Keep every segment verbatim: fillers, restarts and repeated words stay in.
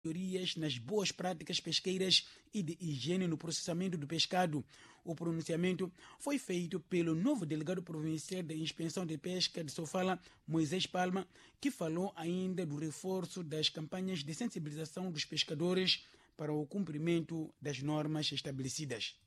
Melhorias nas boas práticas pesqueiras e de higiene no processamento do pescado. O pronunciamento foi feito pelo novo delegado provincial da Inspeção de Pesca de Sofala, Moisés Palma, que falou ainda do reforço das campanhas de sensibilização dos pescadores para o cumprimento das normas estabelecidas.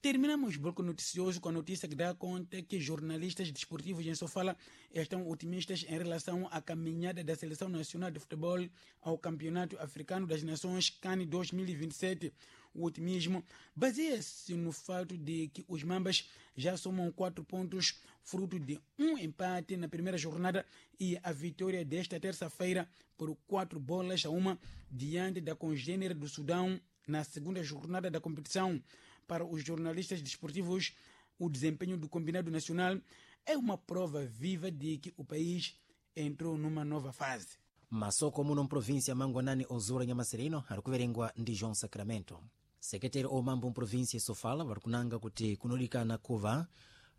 Terminamos o bloco noticioso com a notícia que dá conta que jornalistas desportivos em Sofala estão otimistas em relação à caminhada da Seleção Nacional de Futebol ao Campeonato Africano das Nações CAN dois mil e vinte e sete. O otimismo baseia-se no fato de que os Mambas já somam quatro pontos, fruto de um empate na primeira jornada e a vitória desta terça-feira por quatro bolas a uma diante da congênere do Sudão na segunda jornada da competição. Para os jornalistas desportivos, o desempenho do combinado nacional é uma prova viva de que o país entrou numa nova fase. Masoko muno mprovinsia Mangwanani ozura Nyamasirino ari kuverengwa ndi João Sacramento. Sekretari omambo mprovinsia Sofala vari kunanga kuti kunodikana kuva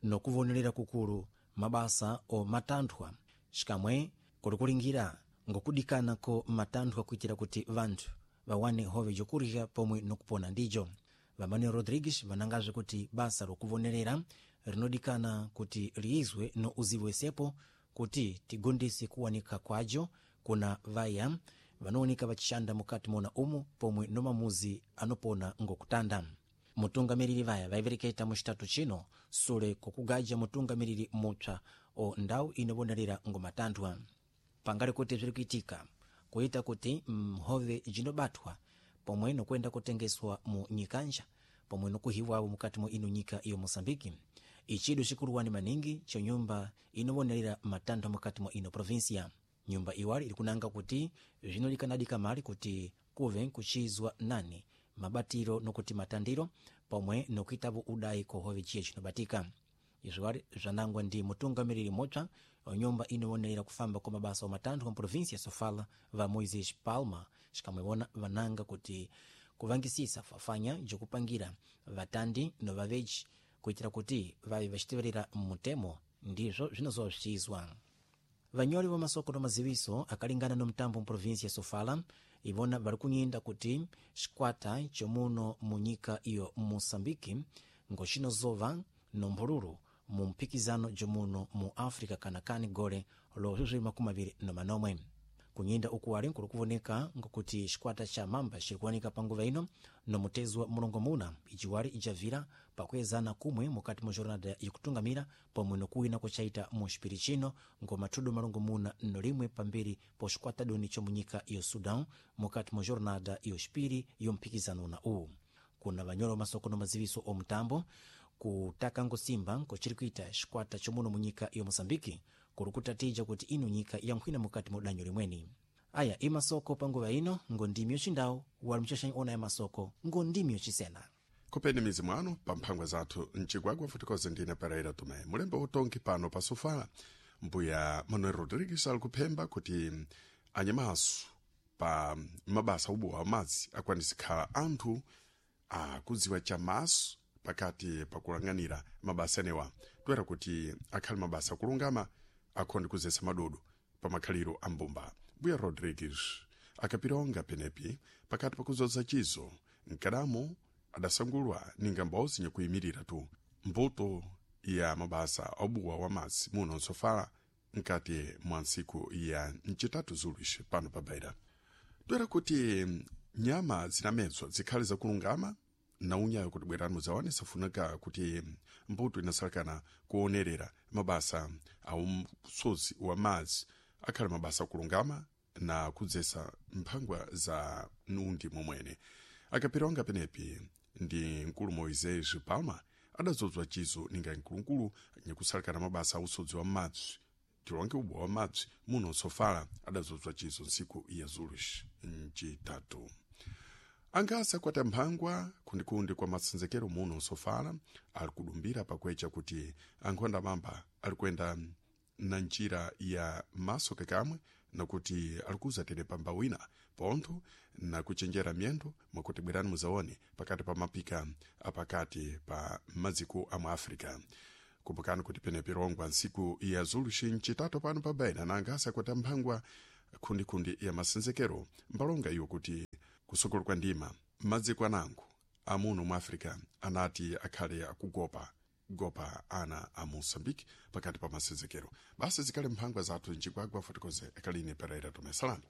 nokuvonerera kukulu mabasa o matanthwa xikamwe kuli kulingira ngokudikana ko matanthwa kuitira kuti vanthu vawane hove jokurya pomwe nokupona ndijo. VaManuel Rodrigues vanangazve kuti basa lokuvonerera rinodikana kuti liizwe no uzivo wesepo kuti tigondese kuwanika kwajo kuna vaya vanooneka vachishanda mukati mona umu pomwe no mamuzi anopona ngokutanda. Mutungamiriri vaya vaivereketa muchitatu chino sule kokugaja mutungamiriri mupsa o ndau inovonerera ngomatanthwa. Pangali kuti zviri kuitika kuita kuti mhove jinobatwa pomwe nokuenda kutengeswa mu nyikanja pomwe nokuhiwawo mukati mwa ino nyika iyo Moçambique. Ichidu chikuluwani maningi cho nyumba inovonerera matanthwa mukati mwa ino provinsia. Nyumba iwali iri kunanga kuti zvinodikanadi kamali kuti kuve kuchizwa nani mabatiro nokuti matandiro pomwe nokuitavo udayi kohove chiye chinobatika. Izvo zvanangwa ndi mutungamiriri mupsa wa nyumba inovonerera kufamba kwa mabasa wa matanthwa mu provinsia ya Sofala va Moisés Palma, xikamwewona vananga kuti kuvangisisa fafanya jokupangira vatandi no vaveji kuitira kuti vave vachiteverera mutemo ndizvo zvinozowa zvichiizwa. Vanyori va masoko no maziviso akalingana no mtambo mu provinsia ya Sofala ivona vari kunyinda kuti xikwata chomuno mu nyika iyo Moçambique ngoxinozova no mphululu mu mphikizano jomuno mu África kanakani gole lo zviwiri makumi aviri no manomwe. Kunyinda ukuwali nkuli kuvoneka nkokuti xikwata cha Mamba xiri kuwanika panguva ino nomutezwa mulongomuna ijiwali ijavira pakuezana kumwe mukati mwa jornada ikutungamira pomwe nokuwina kuchaita mu xipiri chino ngomathudu malongomuna nolimwe pambiri po xikwata doni chomunyika iyo Sudão mukati mwa jornada iyo xipiri yomphikizano na uwu. Kuna vanyolo masoko no maziviso omutambo kutaka ngosimba nkochiri kuita xikwata chomuno munyika iyo Moçambique kuri kutatija kuti ino nyika yankhwina mukati mwa danyo limweni. Aya imasoko panguva ino ngondimi yocindawu wali mchaxanyi ona ya masoko ngondimi yocisena. Kopeni mizi mwano pa mphangwa zathu mcigwagwa futikoze ndine Pereira Tomé mulembe utongi pano pa Sofala. Mbuya Manuel Rodrigues ali kuphemba kuti anyamaso pa mabasa ubowa amadzi akwanise khala anthu akudziwa chamaso pakati pakulang'anira mabasa enewa toera kuti akhale mabasa akulungama akhonde kuzesa madodo pa makhaliro a mbumba. Mbuya Rodrigues akapilonga penepi pakati pakuzoza chizo mkadamo adasangulwa ninga mbozi nyakuyimirira tu mbuto ya mabasa obuwa wa madzi muno nsofala nkati mwa ntsiku ya mcitatu zuluxi pano pa Beira. Toera kuti nyama zinamedzwa zikhale zakulungama na unyayo kuti bwerani muzawane safunika kuti mbuto inasalakana kuonerera mabasa a umsozi wa madzi akhale mabasa akulungama na kudzesa mphangwa za nundi momwene. Akapilonga penepi ndi mkulu Moisés Palma adazozwa chizo ninga mkulukulu nyakusalakana mabasa a usodzi wa madzi tilonge ubowa wa madzi muno nsofala adazozwa chizo ntsiku ya zuluxi mcitatu. Angasa kwata mphangwa kundikundi kwa masenzekero muno nsofala ali kudumbira pakwecha kuti ankhonda mamba ali kuyenda na njira ya maso kakamwe nakuti alikuza tere pamba wina pontho na kuchenjera myendo mwakuti bwerani muzaone pakati pa mapika apakati pa maziko a mu África. Kumbukani kuti penepi rongwa ntsiku ya zuluxi mcitatu pano pa Beira na angasa kwata mphangwa khundikhundi ya masenzekero mbalonga iwo kuti kusokolo kwa ndima m'madziko anango amuno mu africa anati akhale akugopa gopa ana a moçambique pakati pa masenzekero. Basi zikhale mphangwa zathu mchigwagwa, fotokoze akaline Pereira Tomesalani.